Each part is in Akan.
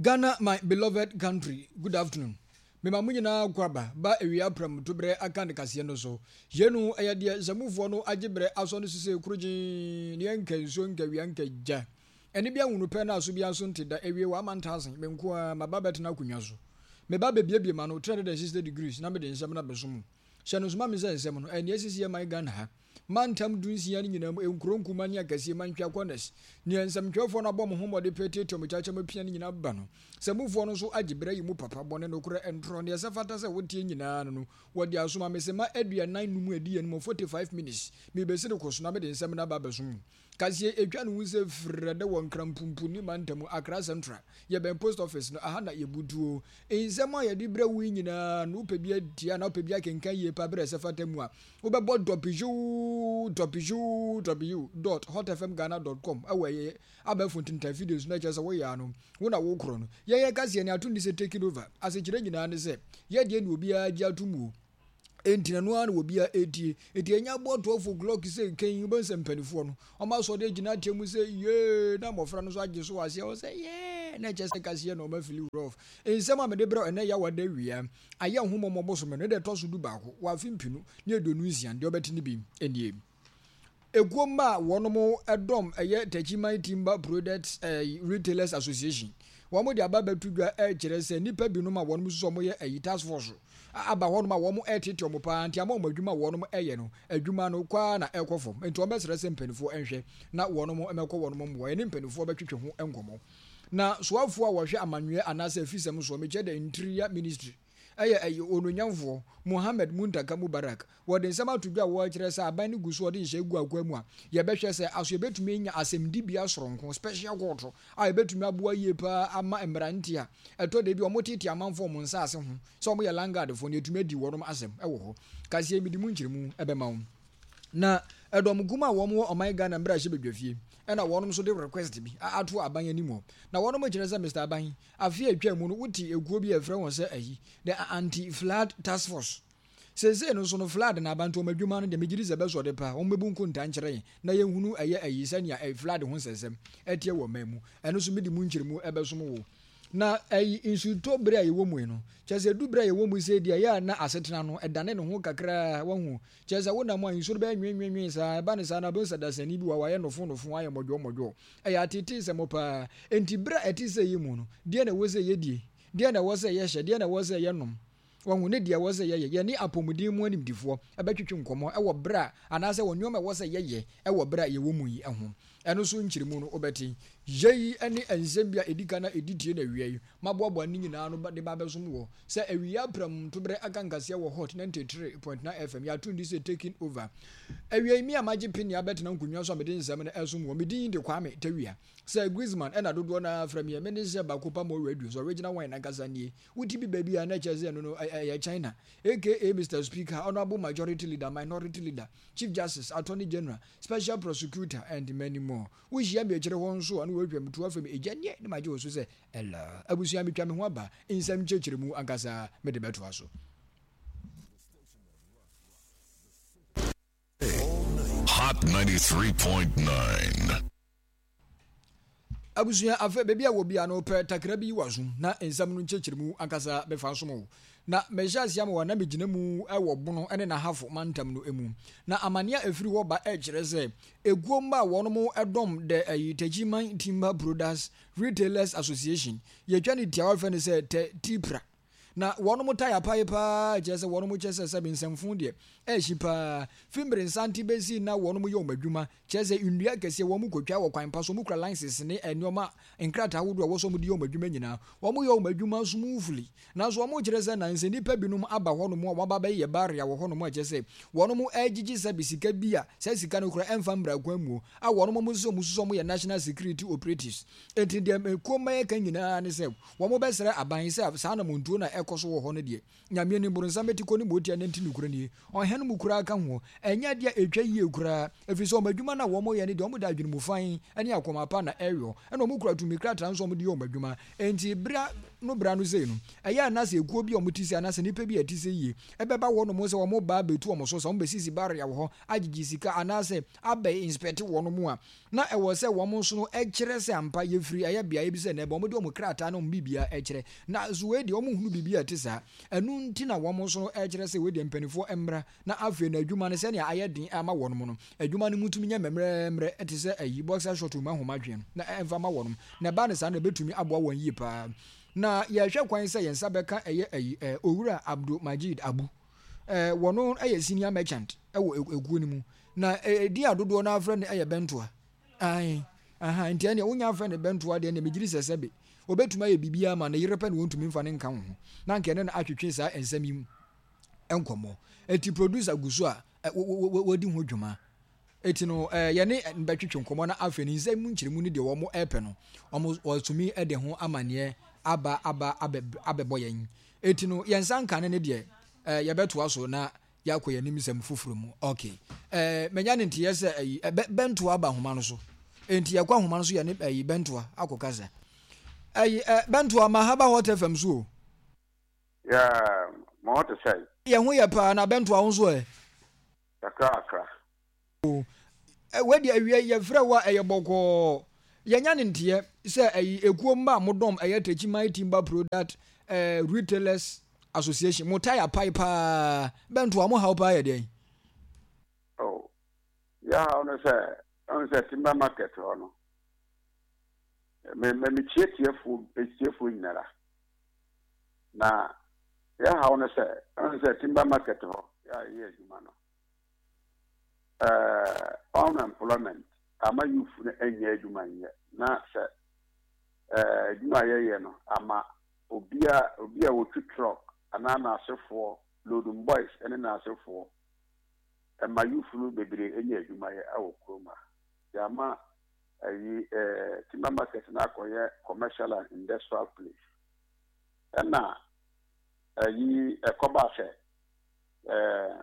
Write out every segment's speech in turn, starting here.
Ghana my beloved country, good afternoon. Mema mo nyinaa akwaaba ba awia prɛmto berɛ aka ne kaseɛ no so. Yei no ɛyɛ deɛ nsamufoɔ no agye berɛ asɔ no sisei korogyee ne ɛnka nsuo nka awia nka gya. Ɛne bi ahunu pɛ na aso biara nso nte da awie wɔ amantaase me nko ara maba bɛtena akonnwa so. Meba bɛbiebie m'ano 360 degrees na mede nsɛm no abɛso mo. Hyɛ no nso ma me sɛ nsɛm no ɛyɛ nea asisi yɛ man Ghana ha. Mantam dunsia no nyinaa mu, nkuro nkumaa ne akɛseɛ, mantwea corners, nea nsɛmtwerɛfoɔ no abɔ mo ho mmɔden pɛ tiatia mo kyakyam apia no nyinaa ba no. Sɛmufoɔ no nso agye berɛ ayi mu papa, bɔne, nokorɛ, ntorɔ, nea ɛsɛ fata sɛ woteɛ nyinaa no no, wɔde asoma me sema 45 mu adi yɛn mu, 45 minutes, merebɛsiri kɔ so na mede nsɛm no aba abɛso mo. Kaseɛ ɛtwa ne ho sɛ frɛdɛ wɔ Nkran-Pumpuni mantam, Accra Central, yɛbɛn post office no, aha na yɛbutuo. Nsɛm a yɛde brɛ wo yi nyinaa no, wopɛ bi atie anaa wopɛ bi akenkan yie paa berɛ a ɛsɛ fata mu a, wobɛbɔ www.hotfmghana dot com wɔ ɛyɛ abɛɛfo ntentan fidie so na ɛkyerɛ sɛ woyɛ ano, wo na wokorɔ no. Yɛn yɛ kaseɛ no ato nni sɛ taking over, asekyerɛ nyinaa ne sɛ yɛdeɛ ne obiara gye ato mu o. Enti na ɛno ara na obiara retie. Enti ɛnyɛ aboɔ 12 o'clock sɛ kɛn wobɛhu sɛ mpanimfoɔ no, wɔn asɔre agyina ateɛ mu sɛ yee na mmɔfra no nso agye so wɔ aseɛ hɔ sɛ yee na ɛkyɛ sɛ kaseɛ na wɔn afili rough. Nsɛm a mede brɛ ɛnɛ yɛ awada awia ayɛ nhommɔmmɔ bosome no da ɛtɔ so 11 wɔ afe 2026 deɛ wobɛte no bi nie. Ekuo mma a wɔnom dɔm ɛyɛ Techiman Timber Products Retailers Association wɔn de aba bɛto dwa ɛkyerɛ sɛ nnipa binom a wɔnom nso wɔn yɛ ɛyi task force aba hɔnom a wɔn ɛtete wɔn paa nti ama wɔn adwuma a wɔnom ɛyɛ no adwuma no kɔ ara na ɛkɔ fam nti wɔn bɛsrɛ sɛ mpanimfoɔ nhwɛ na wɔnom mmɛkɔ wɔnom mmoa ɛne mpanimfoɔ bɛtwetwe ho nkɔmɔ na soafoɔ a wɔhwɛ amanweɛ anaasɛ afisɛm soɔ mekyɛ the Interior Ministry ɛyɛ ɛyɛ Onuonyamfoɔ Mohammed Muntaka Mubarak. Wɔde nsɛm ato dwa a wɔrekyerɛ sɛ aban no gu so ɔde nhyɛ gu akoa mu a yɛbɛhwɛ sɛ aso yɛbɛtumi anya asɛmdibea soronko, special court, a ɛbɛtumi aboa yie paa ama mmeranteɛ a ɛtɔ da bi a wɔteetee amanfoɔ wɔn nsaase ho sɛ wɔyɛ landguardfoɔ no yɛatumi adi wɔnom asɛm wɔ hɔ. Kaseɛ yi mede mu nkyerɛmu bɛma wo. Na ɛdɔm kum a wɔn wɔ ɔman Ghana mmarahyɛbadwafie ɛna wɔnom nso de request bi ato aban anim hɔ. Na wɔnom kyerɛ sɛ Mister Aban, afe a ɛtwaa mu no wote ekuo bi a ɛfrɛ wɔn sɛ ayi, the Anti-Flood Task Force. Seesei no nso no flood na aba nti wɔn adwuma no deɛ megye di sɛ ɛbɛsɔ de paa. Wɔn bɛbu nkontaa nkyerɛ yɛn na yɛnhunu ɛyɛ ayi sɛnea ɛyi flood ho nsɛnsɛm ɛteɛ wɔ ɔman mu. Ɛno nso mede mu nkyerɛmu ɛbɛsom wo. Na ɛyi nsutɔ bere a yɛwɔ mu yi no, kyerɛ sɛ ɛdu bere a yɛwɔ mu sei deɛ ɛyɛ a na asetena no ɛdane ne ho kakra, wahu. Kyerɛ sɛ wonam a nsuo no bɛyɛ nwenwenwen saa, ɛba no saa no wobɛhu sɛ dasani bi wɔ hɔ a wayɛ nofo nofo, ayɛ mmɔdwɔɔ mmɔdwɔɔ. Ɛyɛ ateeteesɛm paa. Enti bere a ɛte sɛ yi mu no, deɛn na ɛwɔ sɛ yɛdie? Deɛn na ɛwɔ sɛ yɛhyɛ? Deɛn na ɛwɔ sɛ yɛnom? Wahu, ne deɛ ɛwɔ sɛ yɛyɛ. Yɛne apɔmuden mu animdefoɔ bɛtwetwe nkɔmmɔ wɔ berɛ a, anaasɛ wɔ nneɛma a ɛwɔ sɛ yɛyɛ wɔ berɛ a yɛwɔ mu yi ho. Ɛno nso nkyerɛmu no wobɛte. Yei ne nsɛm bi a ɛdi kan a ɛdi tie na awia yi maboaboa ne nyinaa ano de ba abɛsom woɔ. Sɛ awia apram ntoberɛ aka nkaseɛ wɔ Hot 93.9 FM, yɛato ndi sɛ Taking Over. Awia yi me a magye pene abɛtena nkonnwa so a mede nsɛm no ɛresom woɔ. Me din de Kwame Tawia. Sir Griezmann ɛna dodoɔ no ara frɛ me ɛ. Mene sɛ baako pa mɔ radio so original wine ankasa nie. Wote bi baabi a na ɛkyerɛ sɛ ɛno no ɛyɛ China. Aka Mister Speaker, Honourable Majority Leader, Minority Leader, Chief Justice, Attorney General, Special Prosecutor and many more. Wohyia me akyire hɔ nso a na wɔatwa me tuo afrɛ me Agya nie na magye wo so sɛ Ella. Abusua metwa me ho aba, nsɛm nkyerɛkyerɛmu ankasa mede bɛtoa so. Hot 93.9. Abusua, afei baabi a wɔ biara no, pɛ takra bi wɔ asom na nsɛm no nkyerɛkyerɛmu ankasa bɛfa nsom wo. Na mehyɛ aseɛ ama wɔ na megyina mu wɔ Bono ne N'Ahafo mantam no mu. Na amaneɛ a ɛfiri hɔ ba kyerɛ sɛ ekuo mma a wɔnom dɔm the ayi Techiman Timber Products Retailers Association, yɛtwa ne tiawa frɛ no sɛ Tɛ Tipra. Na wɔnom tae apae paa kyerɛ sɛ wɔnom kyɛ sɛ sɛbe nsɛmfoo deɛ ɛhye paa. Fi mmere nsante bɛsi na wɔnom yɛ wɔn adwuma, kyerɛ sɛ nnua akɛseɛ wɔn kɔtwa wɔ kwan pa so, wɔn kura licenses ne nnoɔma nkrataa ahodoɔ a ɛwɔ sɛ wɔn de yɛ wɔn adwuma nyinaa. Wɔn yɛ wɔn adwuma smoothly. Nanso wɔn kyerɛ sɛ nansɛ nnipa binom aba hɔnom a wɔn aba abɛyɛ barrier wɔ hɔnom a kyerɛ sɛ wɔnom ɛregyegye sɛbe sika bi a saa sika no koraa ɛmfa mmra kwan muo a wɔnom wɔn nso wɔn susu wɔn yɛ national security operatives. Enti deɛ mekuo mma yɛka nyinaa ne sɛ wɔbɛsrɛ aban sɛ saa anamontuo no a. ɛkɔ so wɔ hɔ no deɛ, Nyame anim, boronsam bɛti kɔ ne motia nanti nokorɛ nie, ɔhene mu koraa ka ho, ɛnyɛ adeɛ a ɛtwa yie koraa, ɛfiri sɛ wɔn adwuma no a wɔyɛ no deɛ wɔde adwene mu fann ne akoma pa na ɛyɔ, ɛna wɔkura tumi krataa nso a wɔde yɛ wɔn adwuma, enti berɛ no berɛ ano sei no, ɛyɛ a na sɛ ekuo bi a wɔte sei anaasɛ nnipa bi a ɛte sei yie bɛba hɔnom sɛ wɔreba abɛtu wɔn so, sɛ wɔbɛsisi barrier wɔ hɔ agyegye sika anaasɛ abɛ inspect wɔn a, na ɛwɔ sɛ wɔn nso no kyerɛ sɛ ampa yɛfiri ɛyɛ beaeɛ bi sɛ nnɛ wɔde wɔn krataa ne wɔn biribiara kyerɛ. Na nso wei deɛ wɔnhunu biribi a ɛte saa. Ɛno nti na wɔn nso no kyerɛ sɛ wei deɛ mpanimfoɔ mmra na afei no adwuma no sɛnea ayɛ den ama wɔn no, adwuma no mu tumi nyɛ mmerɛmmerɛ te sɛ ayi boxer short mu ahoma tweɛ no na ɛmfa ma wɔn. Na ɛba no saa no ɛbɛtumi aboa wɔn yie paa. Na yɛhwɛ kwan sɛ yɛn nsa bɛka ɛyɛ ayi Owura Abdul Majid Abu. Wɔno yɛ senior merchant wɔ ekuo no mu. Na edin a dodoɔ no ara frɛ no yɛ Bɛntoa. Ae, aha, nti ɛnneɛ wonya frɛ no Bɛntoa deɛ ɛnneɛ megyedi sɛ sɛbe ɔbɛtumi ayɛ biribiara ama ne yere pɛ na ɔntumi mfa no nka wo ho. Na anka ɛne no atwetwe saa nsɛm yi mu nkɔmmɔ. Enti producer gu so a wɔdi ho dwuma. Eti no yɛne no bɛtwetwe nkɔmmɔ na afei no nsɛm mu nkyerɛmu ne deɛ wɔn repɛ no, wɔn wɔatumi de ho amaneɛ aba aba abɛ abɛbɔ yɛn. Eti no yɛn nsa nka no ne deɛ yɛbɛtoa so na yɛakɔ yɛn anim nsɛm foforɔ mu. Ok. Eh, manya ne nteɛ sɛ ayi, eh, bɛ, bɛntoa aba ahoma no so. Enti yɛkɔ ahoma no so yɛne ayi bɛntoa akɔ kasa. Ayi, eh, bɛntoa ma ha ba Hot FM so o. Yeah, mo ho te sɛn? Yɛn ho yɛ paa, na bɛntoa wo nso ɛ? Kakra kakra. O, eh, wei deɛ awia yi yɛfrɛ wo a ɛyɛ bɔkɔɔ. Yɛanya ne nteɛ sɛ ayi ekuo mma a modɔm ɛyɛ Techiman Timber Product eh, Retailers Association, mo tae apae paa. Bɛntoa, mo haw paa yɛ deɛn? Oh, yɛ haw no sɛ, ɛhu sɛ timber market hɔ no, me me mekyia tiefoɔ tiefoɔ nyinara. Na yɛ haw no sɛ, ɛhu sɛ timber market hɔ yɛ a yɛyɛ adwuma no, eh, unemployment ama youth no nyɛ adwuma nyɛ na sɛ eh, adwuma a yɛyɛ no ama obi a obi a wɔtwi truck anaa n'asefoɔ loading boys ne n'asefoɔ ɛma youth no bebree nyɛ adwuma yɛ wɔ kurom ha. Yɛama ayi eh, timber market no akɔyɛ commercial and industrial place ɛna ayi ɛkɔba sɛ eh,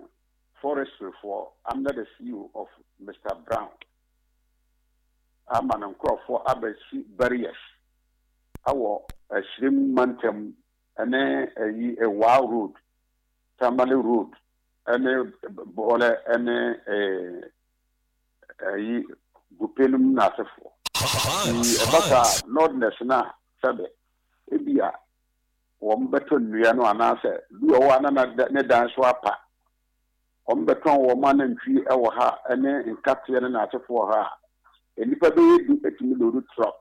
forestry foɔ under the CEO of Mister Brown ama ne nkorɔfoɔ abɛsi barriers awɔ Asirim mantam ne ayi Ewaa road, Tamale road ne Bɔlɛ ne ayi Gupe nom n'asefoɔ. Nti ɛba saa a Northerners no a sɛbe ebia wɔbɛtɔ nnua no anaasɛ bi wɔ hɔ a na ne dan so apa. Wɔbɛtɔn wɔn anantwi wɔ ha ne nkateɛ ne n'asefo wɔ ha a, nnipa bɛyɛ du tumi loodu trɔk.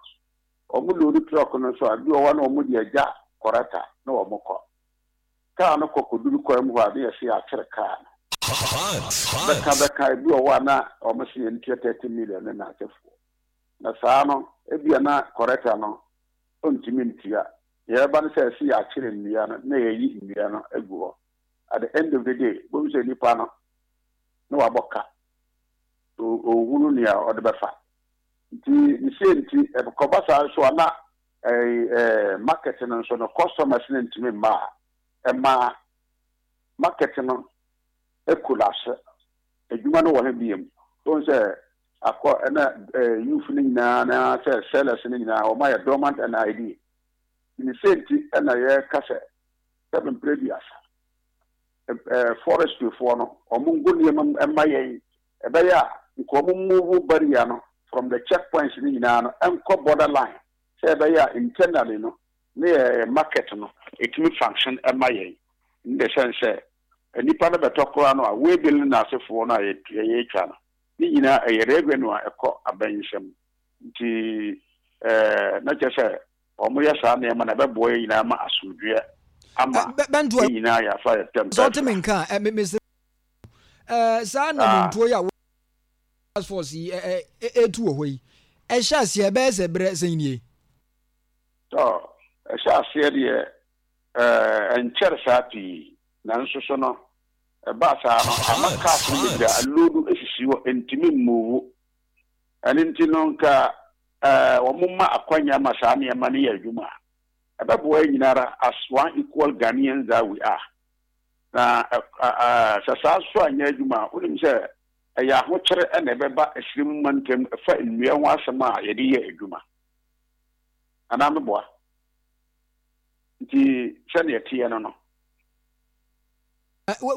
Wɔloodu trɔk no nso a, bi wɔ hɔ a na wɔde agya kɔrɛta na wɔkɔ. Kaa no kɔ kɔduru kwan mu hɔ a, na yɛse yɛakyere kaa no. Bɛka bɛka, ebi wɔ hɔ a na wɔse yɛntua 30 million ne n'asefoɔ. Na saa no, ebia na kɔrɛta no ɔntumi ntua. Deɛ ɛba ne sɛ ɛse yɛakyere nnua no na yɛayi nnua no agu hɔ. At the end of the day, wobɛhu sɛ nipa no na wabɔ ka. Ɔnhunu nea ɔde bɛfa. Nti ne sei nti, ɛkɔba saa nso a na market no nso no customers no ntumi mma a, ɛma market no collapse. Adwuma no wɔ he biom? Wohu sɛ akɔ ɛna youth no nyinaa na sɛ sellers no nyinaa wɔn ayɛ dormant and idle. Ne sɛ nti ɛna yɛka sɛ sɛ mprɛ duasa forestry foɔ no wɔn ngu nneɛma mu ɛma yɛn ɛbɛyɛ a nka wɔn move barrier no from the checkpoints no nyinaa no ɛnkɔ border line sɛ ɛbɛyɛ a internally no ne yɛ market no ɛtumi function ɛma yɛn in the sense sɛ Nnipa no bɛtɔ koraa no a, waybill ne n'asefoɔ no a yɛtwa no, ne nyinaa ɛyɛ revenue a ɛkɔ aban nsam. Nti na kyerɛ sɛ wɔyɛ saa nneɛma no a, ɛbɛboa yɛn nyinaa ma asomdwoeɛ ama yɛn nyinaa yɛafa yɛn tɛm Sɛ wote me nka a, mesrɛ saa anamontuo yi a task force yi ɛtu wɔ hɔ yi, ɛhyɛ aseɛ ɛbɛyɛ sɛ berɛ sɛn nie? Ɛhyɛ aseɛ deɛ Ɛnkyɛre saa pii, nanso so no, ɛbaa saa no, ama cars no bebree a aloodu sisi hɔ, ɛntumi mmuvu. Ɛno nti no, nka wɔmma akwanya ma saa nneɛma no yɛ adwuma a, Ɛbɛboa yɛn nyina ara as one equal Ghanaians that we are. Na sɛ saa nso anyɛ adwuma a, wonim sɛ ɛyɛ ahokyere na ɛbɛba Asirim mantam ɛfa nnua ho asɛm a yɛde yɛ adwuma. Anaa meboa? Nti sɛdeɛ ɛteɛ no no.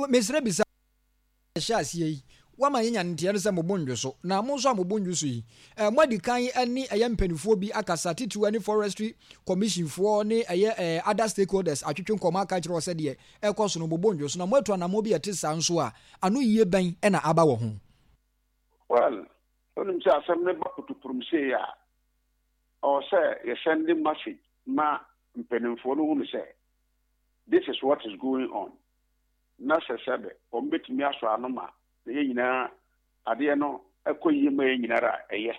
Mesrɛ bisa. Hyɛ aseɛ yi, woama yɛanya nteɛ no sɛ mo bo nnwo so, na mo nso a mo bo nnwo so yi, moadi kan ne ɛyɛ mpaninfoɔ bi akasa, titiriw ɛne Forestry Commission foɔ ne ɛyɛ other stakeholders atwetwe nkɔmmɔ aka akyerɛ wɔ sɛ deɛ ɛrekɔ so no mo bo nnwo so, na moatu anammɔn bi a ɛte saa nso a, ano yie bɛn na aba wɔ ho? Well, wonim sɛ asɛm no ba putupurum sei a, ɛwɔ sɛ yɛsɛnde message ma mpanimfoɔ no hunu sɛ this is what is going on. Na sɛ sɛbe wɔbɛtumi asɔ ano ma yɛn nyinaa adeɛ no kɔ yie ma yɛn nyinara a, ɛyɛ.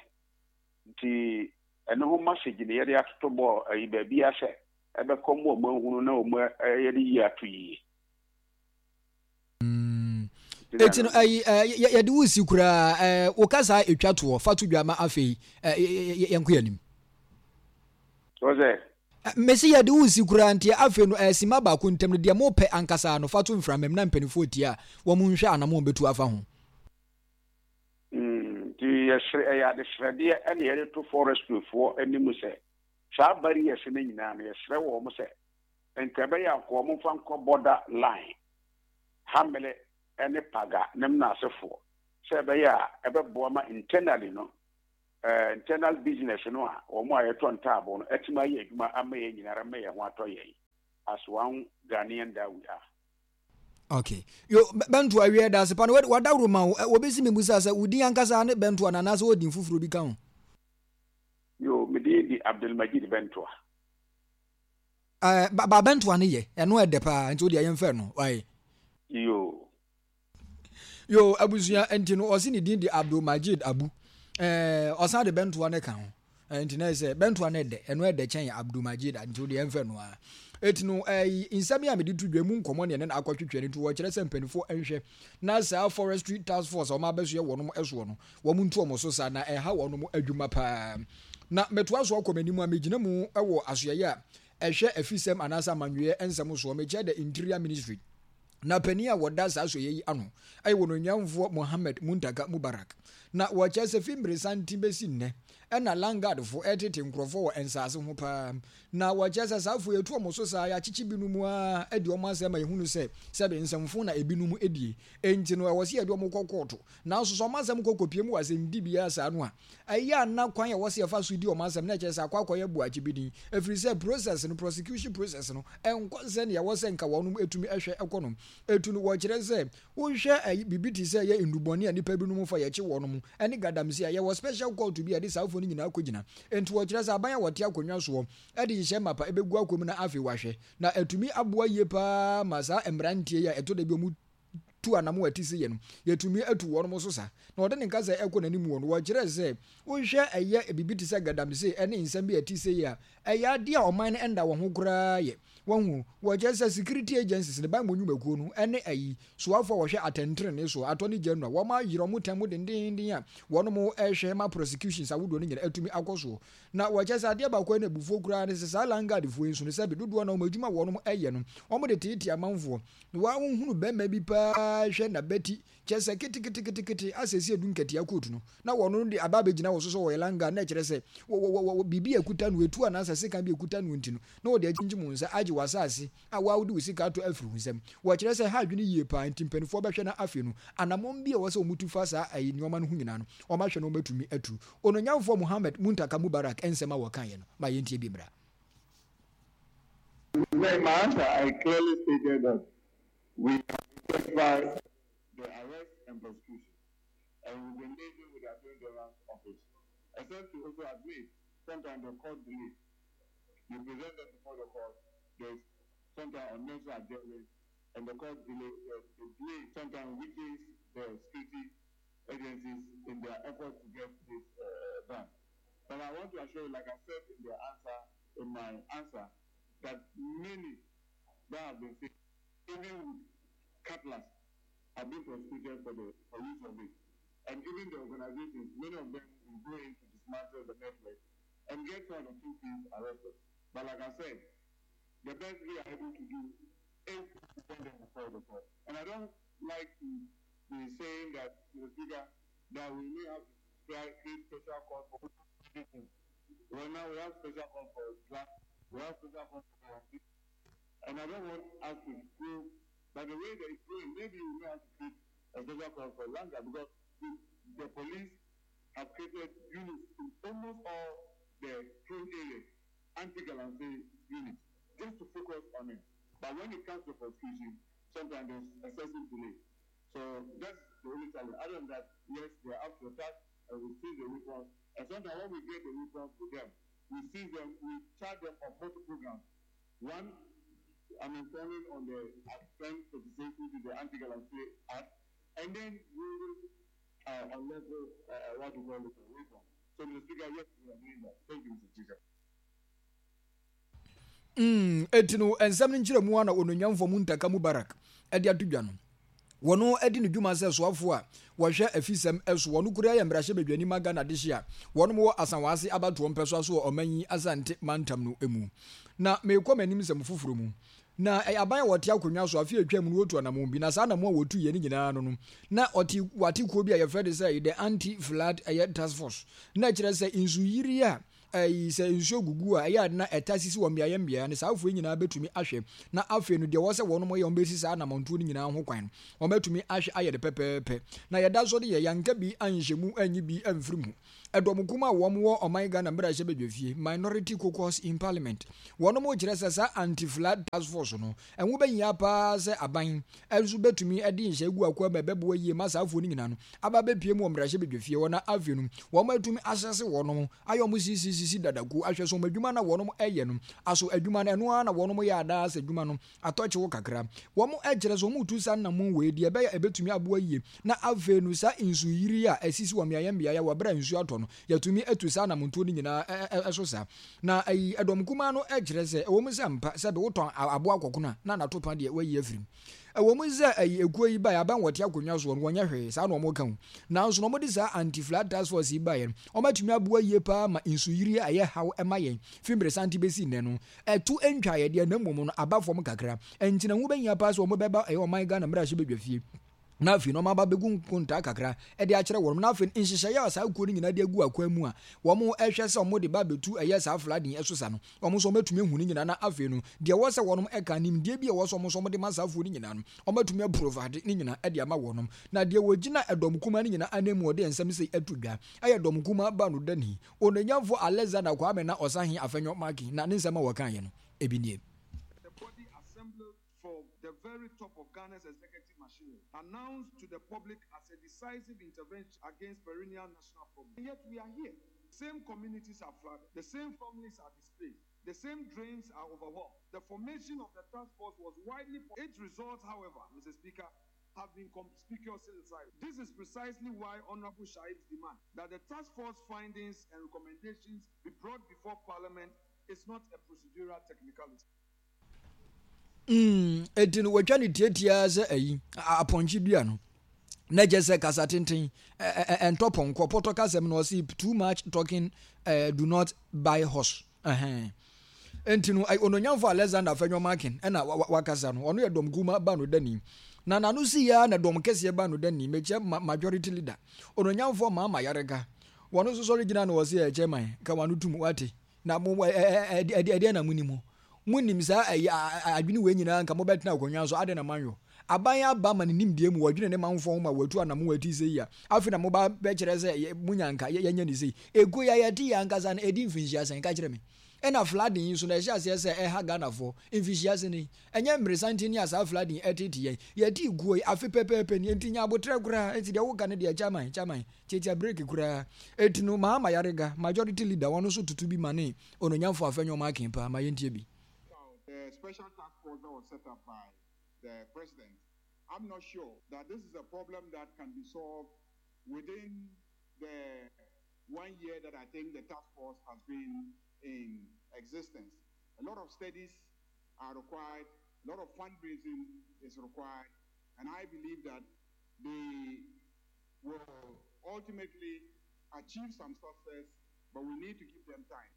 Nti ɛno ho message na yɛde atoto bɔɔ ayi baabiara sɛ ɛbɛkɔ ma wɔn ahunu na wɔn yɛde yie ato yie. Eti no ayi yɛde wo si koraa wo kasa etwa toɔ fa to dwa ma afei yɛnkɔ yɛn anim. Ɔsɛ. Mese yɛde wo resi koraa nti afei no ɛɛ sima baako ntam no deɛ mopɛ ankasa no fa to mframa mu na mpaninfoɔ tie a wɔn nhwɛ anamɔn bɛtu afa ho. Nti yɛsrɛ ɛyɛ adesrɛdeɛ ɛna yɛde to forestry foɔ anim sɛ saa barriers no nyinaa no yɛsrɛ wɔn sɛ nka ɛbɛyɛ a nka wɔn mfa nkɔ border line Hamele ɛne Paga ne Mnasefoɔ sɛ ɛbɛyɛ a ɛbɛboa ma internally no internal business no a wɔn a yɛtɔ ntaaboo no atumi ayɛ adwuma ama yɛn nyinara ma yɛn ho atɔ yɛn as one Ghanaian that we are. Okay. Yo, Bɛnto awie da ase pa no wadaworo ma wo. Wɔbɛsi me musa sɛ wo din ankasa ne Bɛnto ana anaasɛ wɔ din foforɔ bi ka ho? Yo, me din di Abdulmajid Bɛntoa. Eh, ba, ba Bɛntoa no yɛ, ɛno ɛdɛ paa, nti wo deɛ yɛmfɛ no, wae. Yo. Yo, abusua, nti no ɔse ne din de Abdul Majid Abu. Eh, ɔsan de bɛntoa no ka ho. Eh, nti na sɛ bɛntoa no ɛdɛ, ɛno ɛdɛ kyɛn Abdul Majid, nti wo deɛ ɛmfɛ no ara. Eti no, eh, nsɛm yi a mede to dwa mu nkɔmmɔ ne ɛne no akɔtwetwe no nti wɔkyerɛ sɛ mpanimfoɔ nhwɛ na saa forestry task force a wɔn abɛsoɛ wɔnom soɔ no, wɔn ntu wɔn so saa na ɛha wɔnom adwuma paa. Na metoa so akɔ m'anim a megyina mu wɔ asoɛeɛ a ɛhwɛ afisɛm anaasɛ amanyɔeɛ nsɛm soɔ, mekyerɛ the Interior Ministry. Na panin a wɔda saa asoɛeɛ yi ano yɛ wɔn onuamfoɔ Mohammed Muntaka Mubarak. Na wɔkyerɛ sɛ fi mmeresanten bɛsi nnɛ na Landguardfoɔ retete nkurɔfoɔ wɔ nsaase ho paa. Na wɔkyerɛ sɛ saa afoɔ yi yɛtu wɔn so saa, yɛakyekye binom ara adi wɔn asɛm ma yɛhunu sɛ sɛbe nsɛmfo na ebinom die. Enti no ɛwɔ sɛ yɛde wɔn kɔ kɔɔto. Nanso sɛ wɔn asɛm kɔ kɔpie mu wɔ asɛnnibea saa no a, ɛyɛ a na kwan a ɛwɔ sɛ yɛfa so di wɔn asɛm no kyerɛ sɛ akɔ akɔyɛ boakye bi din, ɛfiri sɛ process no, prosecution process no, ɛnkɔ sɛdeɛ ɛwɔ sɛ nka wɔnom tumi hwɛ kɔ no. Ɛtu no, wɔkyerɛ sɛ wohwɛ ɛyi, biribi te sɛ ɛyɛ nnubɔne a nnipa binom fa yɛkye wɔnom, ɛne gadamsey a, yɛwɔ special court bi a yɛde saa afoɔ no nyinaa kɔgyina. Enti wɔkyerɛ sɛ aban a wɔte akonnwa soɔ de nhyehyɛe mapa ɛbɛgu akwan mu na afei wɔahwɛ, na atumi aboa yie pa ara ma saa mmeranteɛ yi a ɛtɔ da bi wɔn tu anamon a ɛte sei yɛ no, yɛatumi atu wɔnom so sa. Na ɔde ne nkasa ɛkɔ n'anim wɔ no, wɔkyerɛɛ sɛ, wohwɛ ɛyɛ biribi te sɛ gadamsey ɛne nsɛm bi a ɛte sei a, ɛyɛ adeɛ a ɔman no ɛnda wɔn ho koraa yɛ. Wahu? Wɔkyerɛ sɛ security agencies no, banbɔ nnwumakuo no, ɛne ayi, soafoɔ a wɔhwɛ atɛntrenee soɔ, attorney general, wɔn ayere wɔn tan mu dendeenden a wɔnom ɛrehwɛ ma prosecutions ahodoɔ no nyinaa atumi akɔ soɔ. Na wɔkyerɛ sɛ adeɛ baako a ɛna abufuo koraa ne sɛ saa landguard foɔ yi nso no sɛbe dodoɔ no ara wɔn adwuma a wɔnom ɛyɛ no, wɔn de teetee amanfoɔ. Na wahunu bɛrima bi paa hwɛ n'abati, kyerɛ sɛ keteketekete asɛ sɛ edu nkatia coat no, na wɔn de aba abɛgyina wɔ so sɛ wɔyɛ langa, na ɛkyerɛ sɛ wɔ wɔ wɔ biribi a ɛkuta no, etu anaasɛ sekan bi a ɛkuta no nti no, na wɔde akyinkyim wo nsa agye w'asase a wo ara wode wo sika atɔ afiri wo nsam. Wɔkyerɛ sɛ ɛha adwene yie paa, nti mpanimfoɔ bɛhwɛ na afei no, anammɔn bi a ɛwɔ sɛ wɔtu fa saa ayi nneɛma no ho nyinaa no, wɔahwɛ na wɔatumi atu. Ononyamfoɔ Mohammed Muntaka Mubarak nsɛm a wɔkaeɛ no, ma yɛntie bi mmra. In my answer, I clearly stated that we have identified the arrest and prosecution, and we've been liaising with the Attorney General's office, except to also admit sometimes the court delays. You present them before the court, there's sometimes unnecessary adjournment, and the court delay, the, the delay sometimes weakens the security agencies in their effort to get this uh, done. But I want to assure you, like I said in the answer, in my answer, that many that have been seen, even with cutlass, have been prosecuted for the for use of it. And even the organizations, many of them will go in to dismantle the network and get one or two things arrested. But like I said, The best we are able to do is to send them before the court. And I don't like to be saying that, Mr. Speaker, that we may have to create special court for everything. Well, now we have special court for drugs, we have special court for and I don't want us to go by the way that it's going, maybe we may have to create a special court for Langa because the, the police have created units in almost all the prone areas, anti-galamsey units, just to focus on it. But when it comes to prosecution, sometimes there's excessive delay. So that's the only challenge. Other than that, yes, they are up to the task and we seize the weapons. And sometimes when we get the weapons with them, we seize them, we charge them on multiple grounds. One, I'm informing on the Act 1036, which is the Anti-Galamsey Act, and then we will uh, unlawful, uh, what you call it, weapon. So, Mr. Speaker, yes, we are doing that. Thank you, Mr. Speaker. Mm, eti no nsɛm no nkyerɛmu a na onuonyamfoɔ Muntaka Mubarak de ato dwa no. Wɔno adi ne dwuma sɛ soafoɔ a wɔhwɛ afisɛm so. Wɔno koraa yɛ mmarahyɛbadwani ma Ghana dehye a wɔnom wɔ Asanwaase abatoɔ mpɛsoa so wɔ ɔman yi Asante mantam no mu. Na merekɔ m'anim nsɛm foforɔ mu. Na ɛyɛ aban a wɔte akonnwa so afe a atwam no wɔtu anamɔn bi na saa anamɔn a wɔtuiɛ no nyinaa no no na ɔte wɔate kuo bi a yɛfrɛ no sɛ the anti-flood ɛyɛ task force na ɛkyerɛ sɛ nsuyiri a Ɛyi, sɛ nsuo gugu a, ɛyɛ a na ɛtaa sisi wɔ mmeaeɛ mmeaeɛ no, saa afoɔ yi nyinaa bɛtumi ahwɛ, na afei no deɛ ɛwɔ sɛ wɔnom yɛ, wɔbɛsi saa anamɔntuo no nyinaa ho kwan no, wɔatumi ahwɛ ayɛ no pɛpɛɛpɛ. Na yɛda so deɛ, yɛanka bi anhyɛ mu anyi bi amfiri mu. Ɛdɔm kumaa a wɔn wɔ ɔman Ghana mmarahyɛbadwafie, Minority Caucus in Parliament, wɔnom rekyerɛ sɛ saa Anti-Flood Task Force no, ɛho bɛhia paa sɛ aban nso bɛtumi de nhyɛ agu akoa mu a ɛbɛboa yie ma saa afoɔ no nyinaa no aba abɛpue mu wɔ mmarahyɛbadwafie hɔ na afei no wɔatumi asɛse wɔnom ayɛ wɔn sisisisi dada kuo ahwɛ so wɔn adwuma na wɔnom ɛyɛ no aso adwuma no ɛno ara na wɔnom yɛ adaa sɛ adwuma no atɔ kyew kakra wɔn ɛkyerɛ sɛ wɔn tu saa nnamon wei deɛ ɛbɛyɛ ɛbɛtumi aboa yie na afei no saa nsu yiri a ɛsisi wɔ mmeaeɛ mmeaeɛ wɔ berɛ a nsuo atɔ no yɛtumi atu saa anamontuo no nyinaa ɛso saa na ayi ɛdɔm kumaa no ɛkyerɛ sɛ ɛwɔ mu sɛ mpa sɛ de wotɔn aboa kɔkono a na nato pa deɛ wayi afiri mu Ɛwɔ mu sɛ ayi ekuo yi baeɛ abɛn wɔte akonnwa soɔ no wɔnyɛ hwee, saa na wɔka o, nanso na wɔde saa anti-flood task force yi baeɛ no, wɔatumi aboa yie paa ma nsuyiri a ɛyɛ haw ma yɛn fi mmeresante bɛsi nnɛ no, ɛto ntwaeɛ deɛ na mmom no aba fam kakra. Ɛnti na ɛho bɛhia paa sɛ wɔbɛba ɛyɛ ɔman Ghana mmarahyɛbadwafie na afei no wɔaba abɛgu nkontaa kakra de akyerɛ wɔn na afei nhyehyɛeɛ a saa kuo no nyinaa de agu akwan mu a wɔhwɛ sɛ wɔde ba abɛtu ɛyɛ saa flooding ɛso sa no Wɔn nso wɔatumi ahu ne nyinaa na afei no, deɛ ɛwɔ sɛ wɔnom ɛka, nimdeɛ bi a ɛwɔ sɛ wɔn nso wɔde ma saa afuo no nyinaa no, wɔatumi aprovide ne nyinaa de ama wɔnom. Na deɛ wɔgyina ɛdɔm kumaa no nyinaa ananmu a ɔde nsɛm sei ato dwa, ɛyɛ dɔm kumaa baanodani, Onuonyamfoɔ Alexander Kwame na Ɔsahe Afenyo Markin, na ne nsɛm a wɔkaeɛ no, ebi nie. The body assembled for the very top of Ghana's executive machinery, announced to the public as a decisive intervention against perennial national problems. And yet we are here. Same communities are flooded, the same families are displaced, the same drains are overwhelmed. The formation of the task force was widely. Its results, however, Mr. Speaker, have been conspicuously silent. This is precisely why Honorable Shaib's demand that the task force findings and recommendations be brought before Parliament is not a procedural technicality. Mm, eti no wɔatwa no tiatiaa sɛ ayi, apɔnkye dua no. Na kyerɛ sɛ kasa tenten, ɛntɔ pɔnkɔ, pɔtɔ kasɛm no ɔse too much talking uh, do not buy horse. Ɛhɛn. Enti no, ononyamfo Alexander Afenyo-Markin ɛna wakasa no, ɔno yɛ dɔm kuma ba no dani. Na n'ano si ya na dɔm kɛseɛ ba no dani, mekyɛ majority leader. Ononyamfo Mahama Yarega, wɔn nso sɔre gyina na wɔse ɛ chairman, ka wano tum, wate. Na mo ɛ ɛ ɛdeɛn na monim? Monim saa ɛyi adwene wei nyinaa nka mobɛtena akonnwa so adɛn na moanyɔ? Aban aba ma ne nimdeɛ mu wɔdwene ne manfoɔ ho ma wɔatu anamon a ɛte sei a afei na moba bɛkyerɛ sɛ monya nka yɛnyɛ ne sei. Ekuo yi a yɛte yi ankasa no ɛdi mfinhyia sɛn? Ka kyerɛ me. Ɛna flooding yi nso no ɛhyɛ aseɛ sɛ ɛha Ghanafoɔ mfinhyia sɛn yi? Ɛnyɛ mmeresanten ni a saa flooding yi ɛtete yɛn. Yɛte ekuo yi afe pɛpɛɛpɛ ni enti nya aboterɛ koraa. Enti deɛ woka no deɛ chairman chairman Tiatia break koraa. Eti no Mahama Yarega, majority leader, ɔno nso tutu bi ma ne Ononyamfo Afenyo Markin paa. Ma yɛntie bi. The special task force that was set up by the president, I'm not sure that this is a problem that can be solved within the one year that I think the task force has been in existence. A lot of studies are required, a lot of fundraising is required, and I believe that they will ultimately achieve some success, but we need to give them time.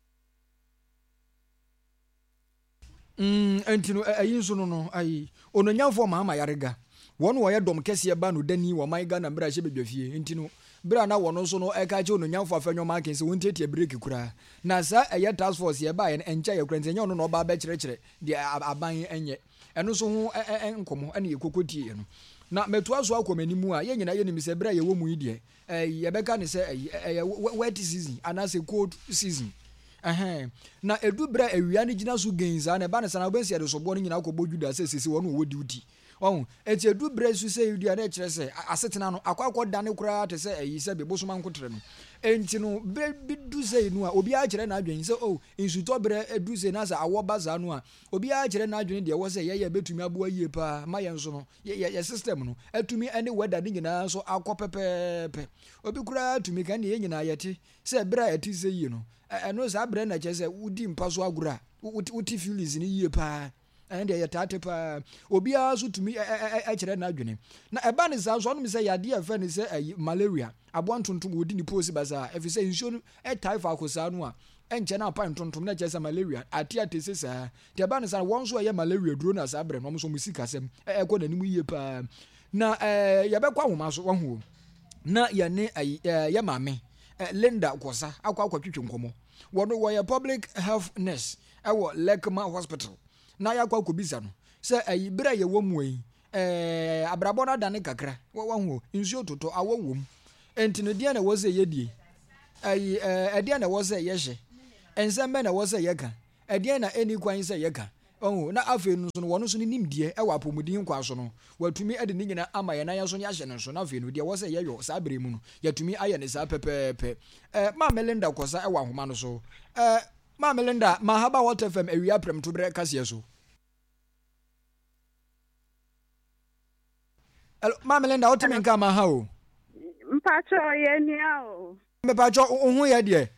Mm, ɛnti no, ɛyi nso no no, ayi, Ononyamfoɔ Mahama Ayariga, wɔn wɔyɛ dɔm kɛseɛ ba no dani wɔ ɔman Ghana mmarahyɛ badwafie, nti no, berɛ a na wɔn nso no ɛka akyerɛ Ononyamfoɔ Afenyo Markin sɛ wɔntiatia bireki koraa, na saa ɛyɛ task force yi ɛbaeɛ no ɛnkyɛeɛ koraa, nti ɛnyɛ ɔno na ɔba abɛkyerɛkyerɛ deɛ aban nyɛ, ɛno nso ho nkɔmmɔ ɛna yɛkɔkɔ tieɛ no. Na mɛtoa so akɔ m'anim a, yɛn nyinaa yɛnim sɛ berɛ a yɛwɔ mu yi deɛ, Ɛyi, yɛbɛka no sɛ ɛyi, ɛyɛ wet season anaasɛ cold season. Ɛhɛn. Na edu berɛ a awia no gyina so genn saa na ɛba no saa na wobɛhu sɛ yɛde soboɔ no nyinaa kɔbɔ Juda sɛ sese wɔn wɔwɔ duty. Ɔho. Enti edu berɛ so sɛ edu a na ɛkyerɛ sɛ asetena no akɔ akɔdane koraa te sɛ ɛyi sɛ bosoma nkoterɛ no. Enti no berɛ bi du sei no a obiara kyerɛ n'adwene sɛ oh nsutɔ berɛ du sei na sɛ awɔ ba saa no a obiara kyerɛ n'adwene deɛ ɛwɔ sɛ yɛyɛ ɛbɛtumi aboa yie paa ma yɛn nso no yɛ yɛ system no atumi ne weather no nyinaa nso akɔ pɛpɛɛpɛ. Obi koraa tumi ka ɛnneɛ yɛn nyinaa yɛte sɛ berɛ a ɛte sɛ yie no, ɛno saa berɛ na kyerɛ sɛ wodi mpa so agorɔ a wote feelings no yie paa. Ɛno deɛ yɛtaa te paa. Obiara nso tumi kyerɛ n'adwene. Na ɛba ne saa nso ɔnom sɛ yadeɛ a ɛfɛ ne sɛ ɛyi malaria, aboa ntontom wɔdi ne poosi basaa ɛfiri sɛ nsuo no ɛtae faako saa no a ɛnkyɛ na apae ntontom na ɛkyerɛ sɛ malaria ate atese saa. Nti ɛba no saa no, wɔn nso ɛyɛ malaria duro na saa berɛ no, wɔn nso wɔn sikasɛm ɛkɔ n'anim yie paa. Na ɛɛ yɛbɛkɔ ahoma so, wahu o. Na yɛne ɛyi ɛɛ yɛ maame ɛɛ Linda Kɔsa akɔ akɔtwetwe nkɔmɔ. Wɔn wɔyɛ public health nurse ɛwɔ Lekma Hospital. Na yɛakɔ akɔbisa no sɛ ɛyi berɛ a yɛwɔ mu yi ɛɛ abrabɔ no adane kakra, wahu o, nsuo totɔ, awɔ wom. Enti no deɛn na ɛwɔ sɛ yɛdie? Ɛyi ɛɛ ɛdeɛn na ɛwɔ sɛ yɛhyɛ? Nsɛm bɛn na ɛwɔ sɛ yɛka? Ɛdeɛn na ɛnni kwan sɛ yɛka? Wahu? Na afei no nso no, wɔn nso ne nimdeɛ wɔ apɔmuden kwan so no, wɔatumi de ne nyinaa ama yɛn na yɛn nso yɛahyɛ no nso. Na afei no, deɛ ɛwɔ sɛ yɛyɔ saa berɛ yi mu no, yɛatumi ayɛ no saa pɛpɛɛpɛ. Eh, Maame Linda Kɔsa wɔ ahoma no so. Eh, Maame Linda, Mahaba Hot FM awia prɛmtoberɛ kaseɛ so. Hello, Maame Linda, wote me nka ma ha o? Mpakyɛ yɛ nua o. Mepakyɛ wo ho yɛ deɛ?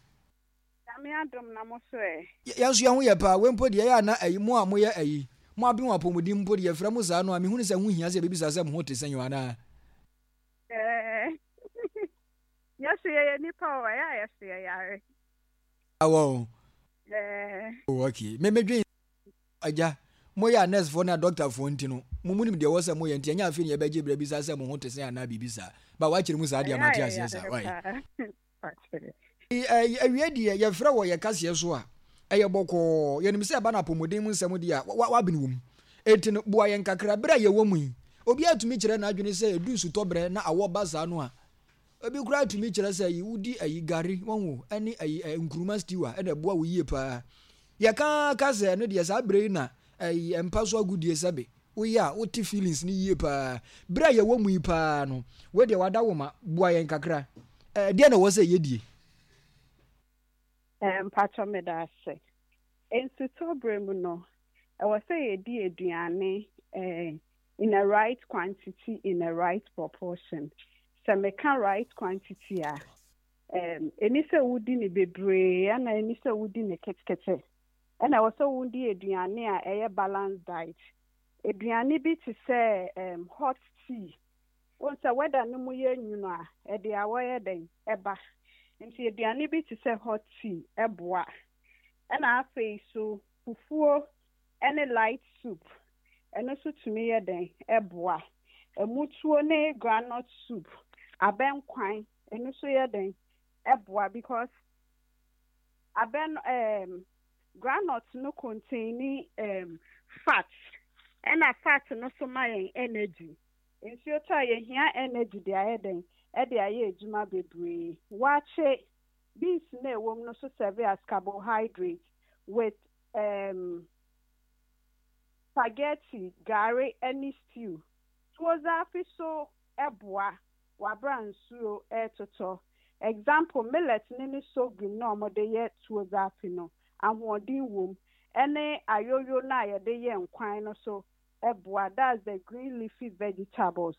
Nyame adom na mo so ɛ? Yɛn nso yɛn ho yɛ paa. Wei mpo deɛ ɛyɛ a na ayi, mo a moyɛ ayi, mo aben wɔ apɔmuden mu mpo deɛ yɛfrɛ mo saa no a, mehunu sɛ ɛho hia sɛ yɛbɛbisa sɛ mo ho te sɛn o anaa? Ɛɛ, yɛn nso yɛyɛ nnipa o, ɛyɛ a yɛso yɛyare. Awɔ o. Ɛɛ. Oh, okay. Me medwen agya, moyɛ a nursefoɔ ne adɔktafoɔ nti no, mo monim deɛ ɛwɔ sɛ moyɛ nti ɛnyɛ afei na yɛbɛgye berɛ bisa sɛ mo ho te sɛn anaa biribi saa. Ba wakyerɛ mu saa deɛ Ɛyɛ a mate aseɛ yɛyare saa. Wai. paa. Pakyɛ. Awiei deɛ, yɛfrɛ wɔ yɛn kaseɛ so a, ɛyɛ bɔkɔɔ. Yɛnim sɛ ɛba no apɔmuden mu nsɛm deɛ a, w'abene wɔ mu. Enti no, boa yɛn kakra. Berɛ a yɛwɔ mu yi, obiara tumi kyerɛ n'adwene sɛ ɛdu nsutɔberɛ na awɔ ba saa no a, obi koraa tumi kyerɛ sɛ ayi, wodi ayi, gari, wahu o, ɛne ayi, nkruma stew a, ɛna ɛboa wo yie paa. Yɛka ara ka sɛ ɛno deɛ saa berɛ yi na ayi, mpa so agodie sɛbe. Woyɛ a, wote feelings no yie paa. Berɛ a yɛwɔ mu yi paa no, wei deɛ wada wo ma, boa yɛn kakra. Ɛɛ, deɛn na ɛwɔ sɛ yɛdie? Eh, mpakyɛ meda ase. Nsutɔ berɛ mu no, ɛwɔ sɛ yɛdi aduane eh, in a right quantity, in a right proportion. Sɛ meka right quantity a, eh, ɛni sɛ wodi ne bebree ɛna ɛni sɛ wodi ne ketekete. Ɛna ɛwɔ sɛ wodi aduane a ɛyɛ balanced diet. Aduane bi te sɛ um, hot tea. Wohu sɛ weather no mu yɛ nwunu a, ɛde awɔ yɛ dɛn? Ɛba. Nti aduane bi te sɛ hot tea ɛboa. Ɛna afei so fufuo ɛne light soup, ɛno nso tumi yɛ dɛn? Ɛboa. Ɛmutuo ne groundnut soup, abɛnkwan, ɛno nso yɛ dɛn? Ɛboa because abɛn ɛɛm groundnut no containi ɛɛm fat ɛna fat no so ma yɛn energy. Nsuo tɔ a yɛhia energy de ayɛ dɛn? De ayɛ adwuma bebree. Waakye beans no a ɛwɔ mu no nso serve as carbohydrate with um, spaghetti, gari ne stew. Tuo zaafi so boa wɔ abere a nsuo retotɔ. Example, millet no ne sorghum no a wɔde yɛ tuo zaafi no, ahoɔden wom. Ɛne ayoyo no a yɛde yɛ nkwan no so boa that's the green leafy vegetables.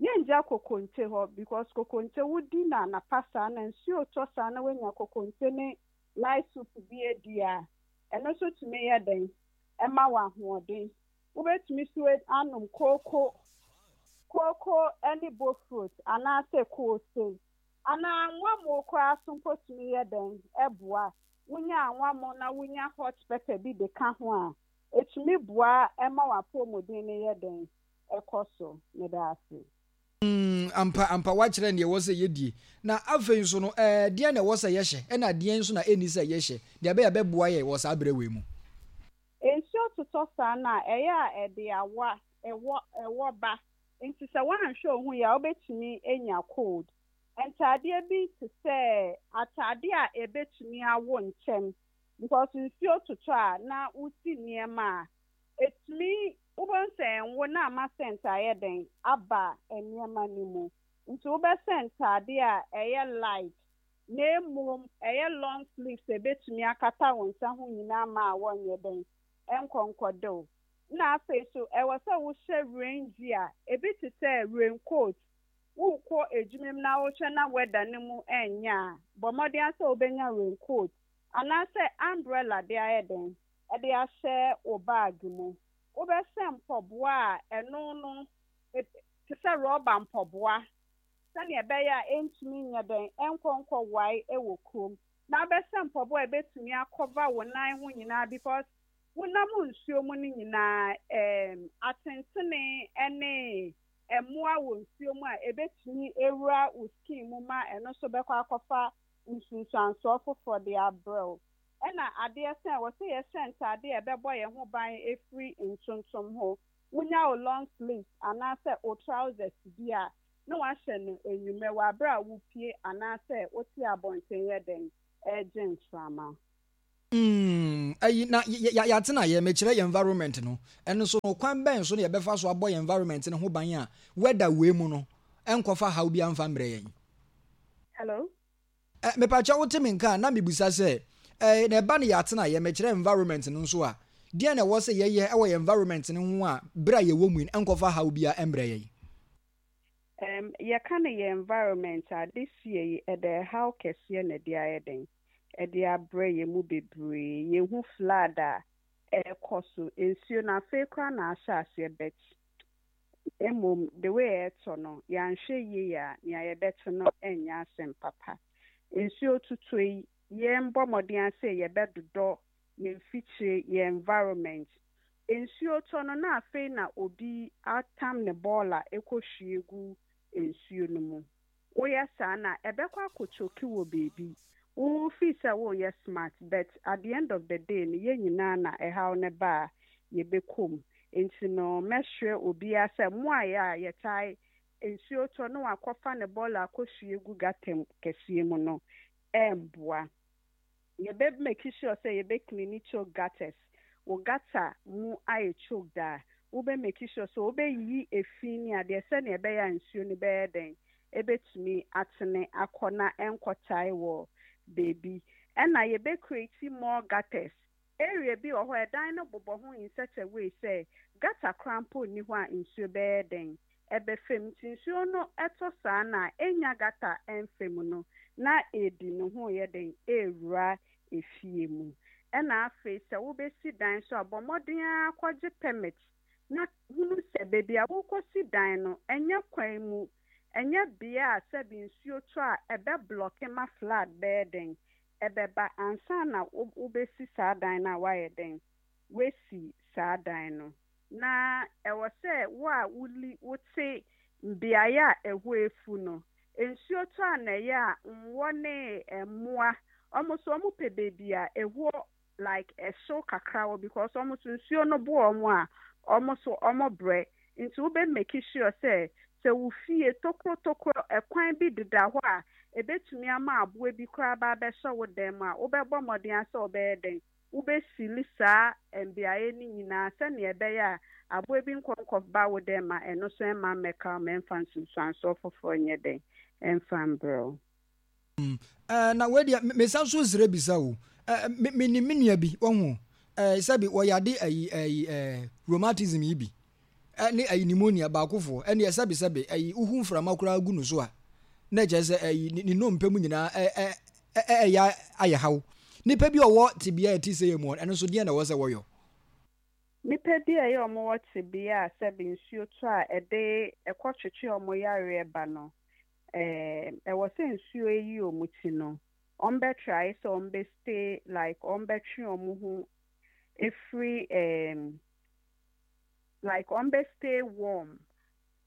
Yɛngya kokonte hɔ because kokonte wodi no anapa saa na nsuo retɔ saa na woanya kokonte ne light soup bi adi a, ɛno nso tumi yɛ dɛn ɛma wo ahoɔden. Wobɛtumi nso anom kooko, kooko ne bofrot anaasɛ koose anaa anwammo koraa so mpo tumi yɛ dɛn ɛboa. Wonya anwammo na wonya hot pepper bi de ka ho a, Ɛtumi boa ma w'apɔwmuden no yɛ dɛn? Ɛkɔ so. Meda ase. Mm, ampa, ampa, woakyerɛ nea ɛwɔ sɛ yɛdie. Na afei nso no, ɛɛ, deɛn na ɛwɔ sɛ yɛhyɛ, ɛna deɛn nso na ɛnni sɛ yɛhyɛ, deɛ ɛbɛyɛ a ɛbɛboa yɛn wɔ saa berɛ wei mu? Nsuo totɔ saa no a, ɛyɛ a ɛde awa, ɛwɔ, ɛwɔ ba. Nti sɛ woanhwɛ wo ho yie a, wobɛtumi anya cold. Ntaadeɛ bi te sɛ ataadeɛ a ɛbɛtumi awo ntɛm because nsuo totɔ a na wosi nneɛma a, ɛtumi, wobɛhu sɛ ɛnwo na ama scent ayɛ dɛn aba nneɛma no mu. Nti wobɛsɛ ntaadeɛ a ɛyɛ light na mmom ɛyɛ long sleeves a ɛbɛtumi akata wo nsa ho nyinaa ma a wɔnyɛ dɛn ɛnkɔ nkɔde wo. Ɛna afei nso ɛwɔ sɛ wohyɛ rain gear, ebi te sɛ rain coat. Worekɔ adwuma mu na wohwɛ na weather no mu ɛnyɛ a, bɔ mmɔden ara sɛ wobɛnya rain coat anaasɛ umbrella de ayɛ dɛn de ahyɛ wo bag mu. Wobɛhyɛ mpɔboa a ɛno no te sɛ rɔba mpɔboa sɛnea ɛbɛyɛ a ɛntumi nyɛ dɛn ɛnkɔ nkɔwae wɔ kurom. Na wobɛhyɛ mpɔboa a ɛbɛtumi akɔva wo nan ho nyinaa because wonam nsuo mu no nyinaa ɛɛm atentene ne mmoa wɔ nsuo mu a ɛbɛtumi awura wo skin mu ma ɛno nso bɛkɔ akɔfa nsunsuansoɔ foforɔ de abrɛ wo. Ɛna adeɛ sɛ ɛwɔ sɛ yɛhyɛ ntaadeɛ a ɛbɛbɔ yɛn ho ban afiri ntontom ho. Wonya wo long sleeves anaasɛ wo trousers bi a, na woahyɛ no anwummerɛ wɔ aberɛ a wopue anaasɛ wote abɔnten yɛ dɛn regye mframa. Mm, ayi, na yɛ, yɛ, yɛatena yɛ, mekyerɛ yɛn environment no. Ɛno nso no, kwan bɛn so na yɛbɛfa so abɔ yɛn environment no ho ban a weather wei mu no, ɛnkɔfa haw biara mfa mbrɛ yɛn? Hello? Eh, mepakyɛ wote me nka a, na mebisa sɛ, eh, na ɛba no yɛatena yɛ, mekyerɛ environment no nso a, deɛn na ɛwɔ sɛ yɛyɛ wɔ yɛn environment no ho a berɛ a yɛwɔ mu yi no, ɛnkɔfa haw biara mbrɛ yɛn? Erm, yɛka no yɛn environment a, this year yi, ɛda ɛhaw kɛseɛ na ɛde ayɛ dɛn? Ɛde abrɛ yɛn mu bebree. Yɛhu flood a ɛrekɔ so, nsuo no afei koraa na ahyɛ aseɛ but mmom the way ɛretɔ no, yɛanhwɛ yie a, nea yɛbɛte no nyɛ asɛm papa. Nsuo totɔ yi, yɛmbɔ mmɔden ara sɛ yɛbɛdodɔ yɛn mfikyire, yɛn environment. Nsuo tɔ no na afei na obi atam ne bɔɔla kɔhwie gu nsuo no mu. Woyɛ saa no a, ɛbɛkɔ akɔ choke wɔ baabi. Wo feel sɛ woreyɛ smart but at the end of the day no yɛn nyinaa na ɛhaw no ba a yɛbɛkɔ mu. Nti no mɛsrɛ obiara sɛ mo a yɛ a yɛtae nsuo tɔ na wakɔfa ne bɔɔla akɔhwie gu gutter mu kɛseɛ mu no ɛmmoa. Yɛbɛ make sure sɛ yɛbɛ cleani choke gutters, wo gutter mu ayɛ choked a, wobɛ make sure sɛ wobɛ yiyi efi ne adeɛ sɛdeɛ ɛbɛyɛ a nsuo no bɛyɛ dɛn, ɛbɛtumi atene akɔ na ɛnkɔ tae wɔ baabi. Ɛna yɛbɛ create more gutters, area bi wɔ hɔ a ɛdan no bobɔ ho in such a way sɛ gutter koraa mpo nni hɔ a nsuo bɛyɛ dɛn, ɛbɛfa mu. Nti nsuo no tɔ saa no a, ɛnnya gutter ɛmfa mu no, na ɛdi ne ho reyɛ dɛn? Ɛrewura efie mu. Ɛna afei sɛ wobɛsi dan nso a, bɔ mmɔden ara kɔgye permit na hunu sɛ baabi a worekɔsi dan no, ɛnyɛ kwan mu, ɛnyɛ bea a sɛbe nsuo tɔ a ɛbɛ blɔke ma flood bɛyɛ dɛn? Ɛbɛba ansa na wobɛsi saa dan no a woayɛ dɛn? Woasi saa dan no. Na ɛwɔ sɛ wo a woli wote beaeɛ a ɛhɔ afu no, nsuo tɔ a na ɛyɛ a nwɔ ne mmoa, wɔn nso wɔn pɛ baabi a ɛhɔ like ɛhyew kakra wɔ because wɔn nso nsuo no bo wɔn a wɔn nso wɔn brɛ. Nti wo bɛ make sure sɛ sɛ wo fie tokuro tokuro ɛkwan bi deda hɔ a ɛbɛtumi ama aboa bi koraa aba abɛhyɛ wo dan mu a, wobɛbɔ mmɔden ara sɛ wobɛyɛ dɛn Wobesili saa mbeaeɛ no nyinaa sɛdeɛ ɛbɛyɛ a aboa bi nkɔ nkɔba wo dɛm ma ɛno nso ɛmma mmɛka wo ma ɛmfa nsunsuansoɔ foforɔ nyɛ dɛn ɛmfa mbrɛ wo. Eh, na wei deɛ, mesan so srɛ bisa o. Eh, me, menim me nua bi, wahu o. Eh, sɛbi wɔyade ayi, ayi, eh, rheumatism yi bi. ne ayi pneumonia baakofoɔ ɛneɛ sɛbe sɛbe ayi wohu mframa koraa gu no so a na ɛkyerɛ sɛ ayi ne nnompe mu nyinaa ɛyɛ ayɛ haw. Nipa bi a ɔwɔ tebea a ɛte sɛ yɛ mu ɛno nso deɛn na ɛwɔ sɛ wɔyɔ? Nipa bi a ɛyɛ wɔn wɔ tebea a sɛbe nsuo tɔ a ɛde ɛkɔ twetwe wɔn yareɛ ba no, ɛwɔ sɛ nsuo yi wɔn ti no, wɔn bɛ try sɛ wɔn bɛ stay like wɔn bɛtwe wɔn ho. Ɛfiri ɛɛm like wɔn bɛ stay warm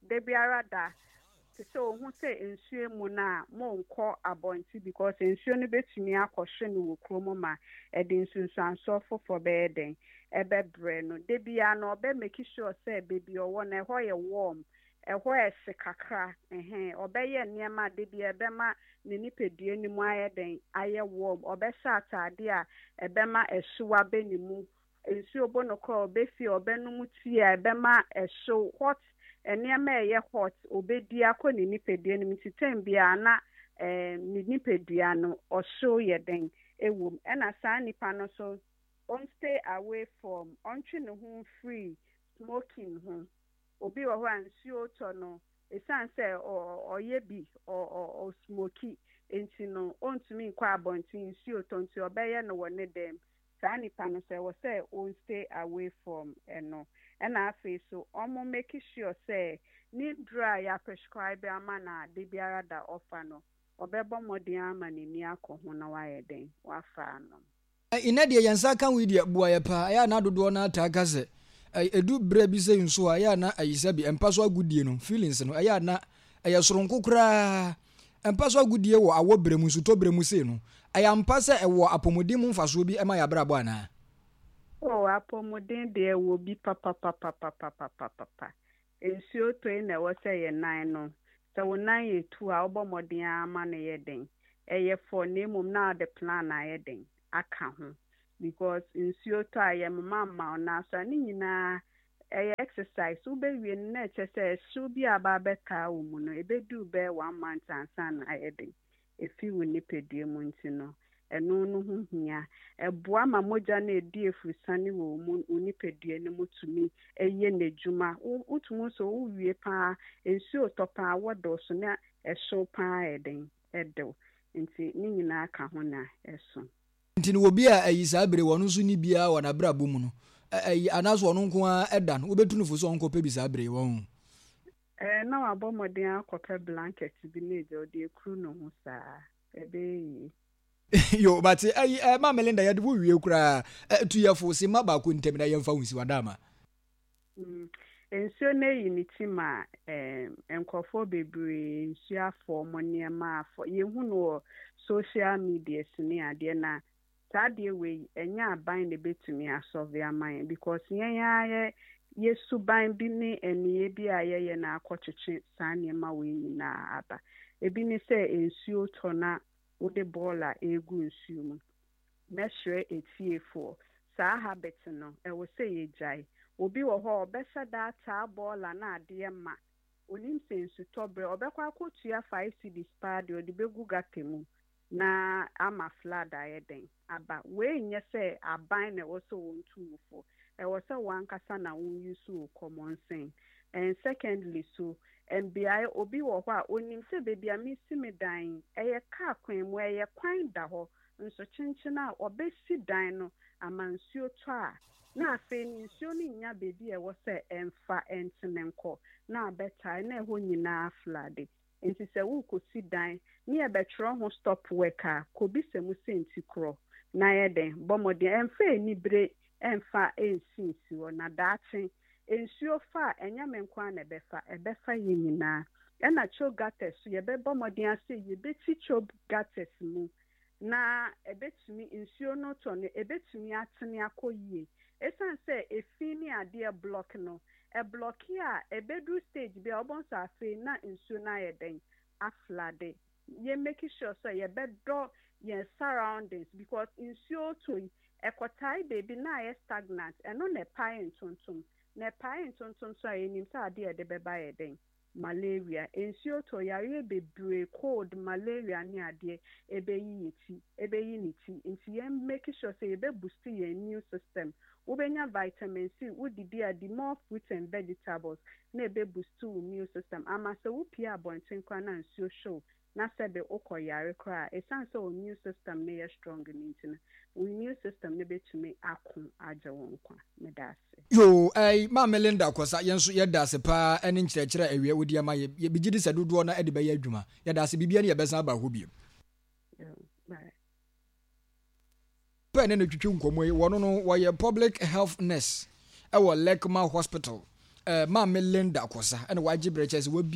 da biara da te sɛ ohu sɛ nsuo mu no a monkɔ abɔnten because nsuo no bɛtumi akɔhwe no wɔ kurom ma ɛde nsunsuansoɔ foforɔ bɛyɛ dɛn ɛbɛbrɛ no. Da biara no ɔbɛ make sure sɛ baabi ɔwɔ no ɛhɔ yɛ warm, ɛhɔ ɛhye kakra ɛhɛn, ɔbɛyɛ nneɛma a da biara ɛbɛma ne nipadua no mu ayɛ dɛn ayɛ warm, ɔbɛhyɛ ataadeɛ a ɛbɛma ɛhyew aba ne mu Nsuo bɔ no koraa a ɔbɛfie a ɔbɛnom tea a ɛbɛma ɛhyew, hot, nneɛma a ɛyɛ hot ɔbɛdi akɔ ne nipadua no mu nti tɛm biara na ne nipadua no ɔhyew yɛ dɛn wɔ mu. Ɛna saa nipa no nso ɔn stay away from, ɔntwe ne ho mfiri smoking ho. Obi wɔ hɔ a nsuo tɔ no ɛsiane sɛ ɔyɛ bi, ɔsmoki nti no ɔntumi nkɔ abɔnten nsuo tɔ nti ɔbɛyɛ no wɔ ne dan mu. Saa nipa no so ɛwɔ sɛ on stay away from ɛno. Ɛna afei so ɔmo make sure sɛ ne nnuro a ya prescribe ama no a dabiara da ɔfa no ɔbɛbɔ mmɔden ara ma n'ani akɔ ho na wayɛ dɛn wafa anom. Nnɛ deɛ yɛn nsa ka wei deɛ boa yɛ paa, ɛyɛ a na dodoɔ no ara taa ka sɛ ɛdu berɛ bi sɛ nso a ɛyɛ a na ayi sɛbi mpa so agodie no feelings no ɛyɛ a na ɛyɛ soronko koraa. Mpa so agodie wɔ awɔ berɛ mu, nsutɔ berɛ mu sei no, ɛyɛ ampa sɛ ɛwɔ apɔmuden mu mfasoɔ bi ma yɛn abrabɔ anaa? Oh, apɔmuden deɛ ɛwɔ bi papapapapapapapa. Nsuo tɔ yi na ɛwɔ sɛ yɛn nan no, sɛ wo nan yɛ tu a, wobɔ mmɔden ara ma no yɛ den. Ɛyɛ fɔ na mmom na wode plan ayɛ den aka ho because nsuo tɔ a yɛmoma mma wo nan so a, ne nyinaa ɛyɛ exercise. Wobɛwie no na ɛkyerɛ sɛ ɛhyew bi a aba abɛtaa wo mu no, ɛbɛduru bɛyɛ one month ansa na ayɛ den afi wo nipadua mu nti no, ɛno no ho hia. Ɛboa ma mogya no a ɛdi afurusane wɔ wo mu, wo nipadua no mu tumi yɛ n'adwuma. Wo, wotumi hu sɛ wowie pa ara, nsuo retɔ pa ara, wɔdɔɔso na ɛhyew pa ara yɛ den, ɛdew. Nti ne nyinaa ka ho na ɛso. Nti no obi a ayi saa bere ɔno nso nni biara wɔ n'abrabɔ mu no, ayi anaasɛ ɔno nko ara da no, wobɛtu no fo sɛ ɔnkɔpɛ bi saa bere yi, wahu. Ɛɛ, na wabɔ mmɔden akɔpɛ blanket bi na agya ɔde akuru ne ho saa. Ɛbɛyɛ yie. Yo, mate. Ayi, ɛɛ, Maame Linda, yɛde wo wie koraa. Ɛ, tu yɛ fo, simma baako ntam na yɛmfa wo nsi, w'adaama. Nsuo no ayi ne ti ma nkurɔfoɔ bebree nsuo afɔ wɔn nneɛma afɔ. Yɛhu no wɔ social medias ne adeɛ na saa adeɛ wei ɛnyɛ aban na ɛbɛtumi asɔve ama yɛn because yɛn ara yɛ yɛ suban bi ne nneyɛɛ bi a yɛyɛ na akɔtwetwe saa nneɛma wei nyinaa aba. Ebi ne sɛ nsuo tɔ na wode bɔɔla regu nsuo mu. Mɛsrɛ atiefoɔ, saa habit no, ɛwɔ sɛ yɛgyae. Obi wɔ hɔ a, ɔbɛhyɛ da ataa bɔɔla na adeɛ ma. Ɔnim sɛ nsutɔ berɛ, ɔbɛkɔ akɔtua five cedis paa deɛ ɔde bɛgu gutter mu na ama flood ayɛ dɛn? Aba. Wei nyɛ sɛ aban na ɛwɔ sɛ wɔntu wo fo. Ɛwɔ sɛ wo ankasa na wo use wo common sense. And secondly so, mbeaɛ, obi wɔ hɔ a, ɔnim sɛ baabi a mesi me dan yi, ɛyɛ car kwan mu, ɛyɛ kwan da hɔ, Nso kyenkyen a wɔbɛsi dan no ama nsuo tɔ a, na afei no nsuo no nnya baabi a ɛwɔ sɛ ɛmfa ntene nkɔ, na abɛtae na ɛhɔ nyinaa aflade. Nti sɛ worekɔsi dan ne yɛbɛtwerɛ ho stop work a, kɔbisa mu sɛ nti korɔ, na yɛ dɛn? Bɔ mmɔden ɛmfa anibere ɛmfa nsi nsi hɔ, na daakye nsuo fa a, ɛnyɛ me nko ara na ɛbɛfa, ɛbɛfa yɛn nyinaa. Ɛna choke gutters nso, yɛbɛbɔ mmɔden ara sɛ yɛbɛti choke gutters mu na ɛbɛtumi, nsuo no tɔ no, ɛbɛtumi atene akɔ yie. Ɛsiane sɛ efi ne adeɛ blɔke no, ɛblɔke a, ɛbɛduru stage bi a, wobɛhu sɛ afei na nsuo no ayɛ dɛn? Aflade. Yɛ make sure sɛ yɛbɛdɔ yɛn surroundings because nsuo retɔ yi, ɛkɔtae baabi na ayɛ stagnant, ɛno na ɛpae ntontom. Na ɛpae ntontom nso a, yɛnim sɛ adeɛ a ɛde bɛba yɛ dɛn? Malaria, nsuo tɔ, yareɛ bebree, cold, malaria ne adeɛ ɛbɛyi yɛ ti, ɛbɛyi ne ti. Nti yɛn make sure sɛ yɛbɛ boost yɛn immune system. Wobɛnya vitamin C, wodidi a di more fruits and vegetables na ɛbɛ boost wo immune system ama sɛ wopue abɔnten koraa na nsuo hye wo na sɛbe wokɔ yare koraa a, ɛsiane sɛ wo immune system no yɛ strong no nti no, wo immune system no bɛtumi ako agye wo nkwa. Meda ase. Yoo ɛy Maame Linda Kwasa yɛn nso yɛda ase paa ɛne nkyerɛkyerɛ a ɛwiɛ wode ama yɛ yɛ gyidi sɛ dodoɔ no ɛde bɛyɛ adwuma yɛda ase biribiara ni yɛbɛsan aba hɔ bio. Yoo bye. Papa ɛne no twitwi nkɔmmɔ yi, wɔno no wɔyɛ public health nurse ɛwɔ Lekma Hospital. Maame Linda Kosa ɛna wagye berɛ kyerɛ sɛ wabi.